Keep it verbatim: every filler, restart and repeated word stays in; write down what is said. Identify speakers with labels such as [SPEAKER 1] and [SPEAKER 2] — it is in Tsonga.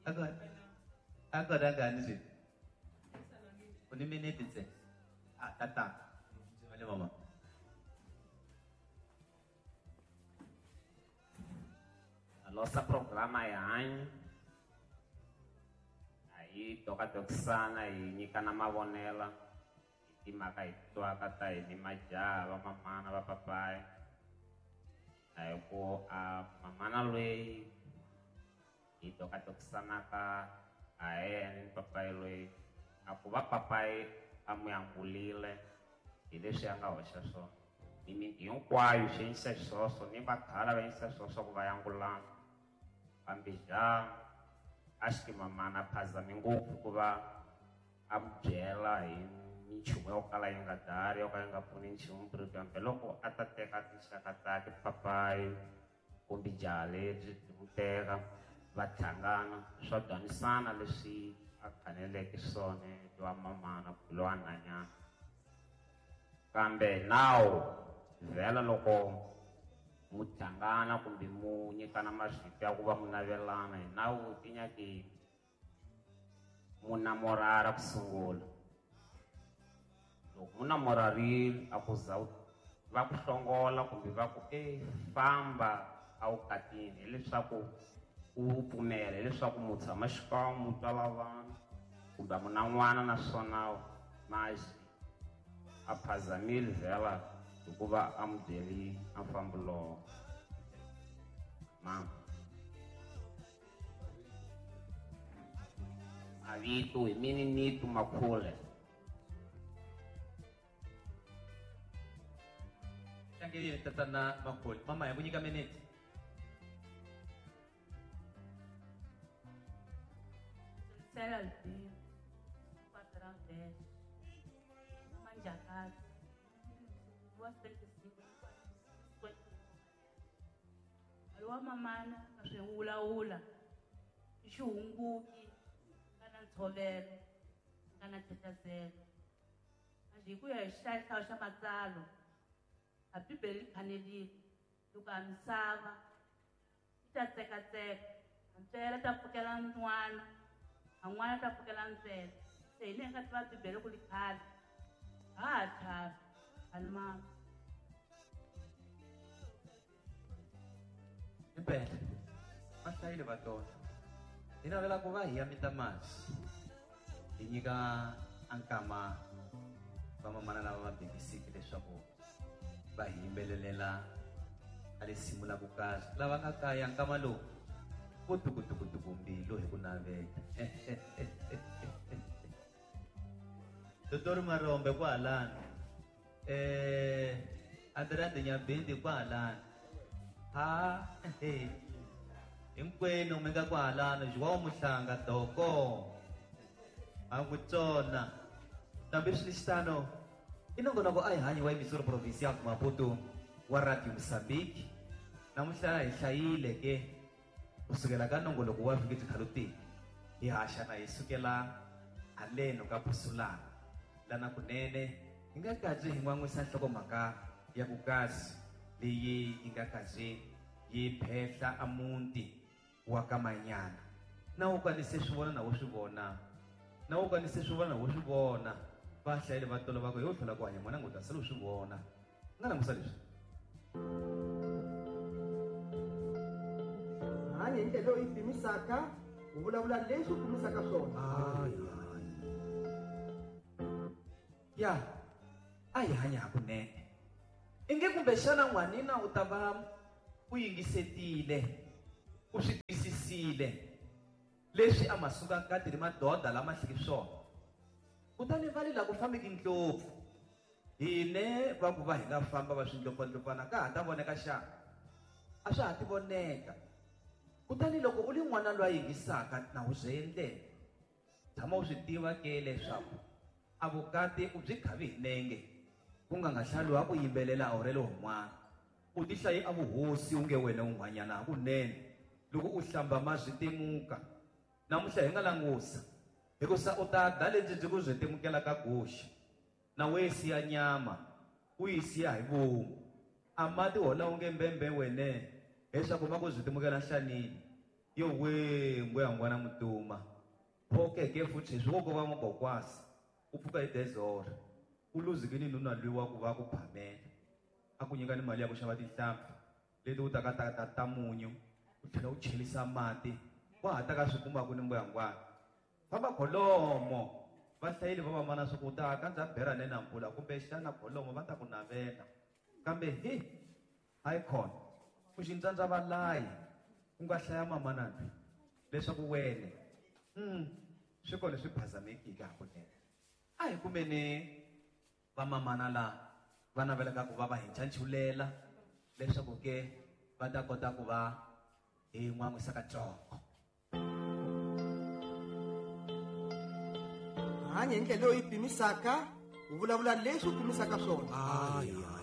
[SPEAKER 1] A kona ngani swi u ni minete ntsena a tatana ndzi mama.
[SPEAKER 2] A nossa programa é hanyo a hi tokatokisana hi nyikana mavonela hi timhaka hi twaka ta hi ni majaha va mamana va papayi a hi ku a mamana loyi hi tokatokisanaka a yena ni papayi loyi a ku va papayi a n'wi angulile hi leswi a nga hoxa swona ni miti hinkwayo xi endlisa xiswoswo ni vakhala va endlisa xiswoswo ku va yangulana kambe ja a xi mamana phazami ngopfu ku va a mu byela hi minchumu yo kala yi nga dari yo ka yi nga pfuni nchumu kambe loko a ta teka tinxaka ta tipapayi kumbe jaha lebyi byi mu teka va hlangana swa dwanisana leswi a faneleke swona lowa mamana kumbe lowa nhwanyana kambe nawu vhela loko mu hlangana kumbe mu nyikana marito ya ku va mu navelana hi nawu ti nyaki mu namorara ku sungula loko mu namorarile a ku za va ku hlongola kumbe va ku e famba a wu katini hileswaku u pfumela hileswaku mu tshama xikan'we mu twala vanhu kumbe a mu na n'wana naswona maxi a phazamile vhela hikuva a mu byeli a mfambo lowo mama mavito hi mini nitu makhule
[SPEAKER 1] tlangelile tatana makhule mama hi ku nyika minete.
[SPEAKER 3] Sela Albino, Patrão dez, Manjacado, duas trinta e cinco, cinquenta e cinco. Wa mamana ka swiwulawula i xihunguki ka na ntshovelo ka na ntetazelo hi ku ya hi xihlayihlayo xa matsalo a bibele yi khanelile loko a misava yi ta tsekatseka a ntswele ta pfukela n'wana a n'wana ta pfukela ntswele se hi leyi nga tiva bibele ku li khale ha ha chavi a ni mama.
[SPEAKER 1] Impela va hlayile va tona hi navela ku va hi ya mita masi hi nyika a nkama va mamana lava va bekisiki leswaku va hi yimbelelela a risimu la ku kahle lava nga kaya nkama lowu vo tukutukutuku mbilu hi ku navela. Dotori Marombe kwahalani eh Andrea Nyabindi kwahalani ha hinkwenu mi nga kwahalani João Muhlanga doko a ku tsona nambi swi i nongonoko a hi hanyi wa emissora provincial Maputo wa Radio Mozambique namuntlha hi hlayile ke kusukela ka nongoloko wa vhiki byi khalutini hi haxana hi sukela haleno ka Pusulana lana kunene hi nga kazi hi n'wan'wisa nhlokomhaka ya ku kasi leyi yi nga kazi yi phehla a muti wa ka Manyana na wu kanise swi vona na wo swi vona na wu kanise swi vona na wo swi vona va hlayile va tolo va ku yo tlhela ku hanya n'wana ngo ta sala u swi vona nga langusa leswi
[SPEAKER 4] hanya hi ndlela leyi pimisaka u vulavula leswi u pimisaka swona
[SPEAKER 1] ya a hi hanya hakunene inge kumbexana n'wanina u ta va u yingisetile u swi twisisile leswi a ma suka nkati ri madoda lama hliki swona kutani va le la ku fambeki ndlopfu hine va ku va hi nga famba va swindlopfandlopfana ka ha ta voneka xana a swa ha ti voneka kutani loko u li n'wana loyi a yingisaka na wu bye ndlela tshama u swi tiva ke leswaku a vukati u byi khavi hi nenge ku nga nga hlaluwa ku yimbelela a wu rele un'wana u ti hlayi a vuhosi u nge wena un'wanyana hakunene loko u hlamba ma swi temuka namuntlha hi nga langusa hikusa u ta da lebyi byi ku byi temukela ka goxi na we siya nyama u yi siya hi vomu a mati hola u nge mbembe wene leswaku ma ku byi temukela nhlanini Yo we mbuya ngwana mutuma. Phoke ke futhi swoko va mogokwasi. U pfuka hi dezora. U luzikini nuna lwiwa ku va ku phamela. A ku nyika ni mali ya ku xava tinhlampfi leti u taka ta ta ta munyu. U tlhela u chelisa mati. Wa ha ta ka swi kuma ku ni mbuya ngwana. Famba kholomo. Va hlayile va mamana swa ku ta kandza bera ne na mpfula kumbe xana kholomo va ta ku navela. Kambe hi icon ku xintsandza valayi ku nga hlaya mamana lwi leswaku wene mm swi kona swi phazamekile hakunene. A hi kumeni va mamana la va navelaka ku va va hi ncanchulela leswaku ke va ta kota ku va hi n'wan'wisa katsongo.
[SPEAKER 4] Hanya hi ndlela leyi pimisaka, u vulavula leswi u pimisaka swona.
[SPEAKER 5] Hayi.